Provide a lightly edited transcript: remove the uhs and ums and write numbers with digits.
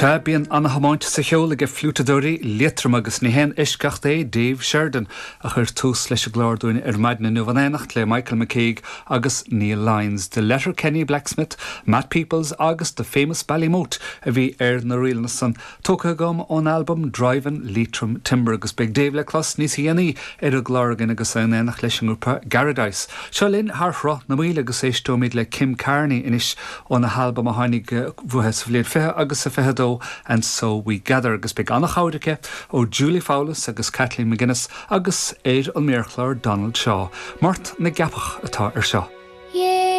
Sea, bíonn ana-thiomáint sa cheol aige fliúiteadóirí Liatroma agus ní haon eisceacht é Dave Sheridan a chuir tús leis an gclár dúinn ar maidin inniu in éineacht le Michael McKeague agus Neil Lyons. The Letterkenny Blacksmith, Matt Peoples agus The Famous Ballymote a bhí ar na ríleanna san. Tógtha agam ón albam Drivin' Leitrim Timber agus beidh Dave le clos níos dhéanaí ar an gclár againn agus é in éineacht leis an ngrúpa Garadice. Seo linn thar Shruth na Maoile agus éisteoimid le Kim Carney anois óna halbam a tháinig uaithi sa bhliain 20 agus a 22 And So We Gather agus beidh an-chabhair aici ó Julie Fowlis agus Kathleen McGuinness agus ar an méarchlár Donald Shaw. Mort na gCeapach atá ar seo.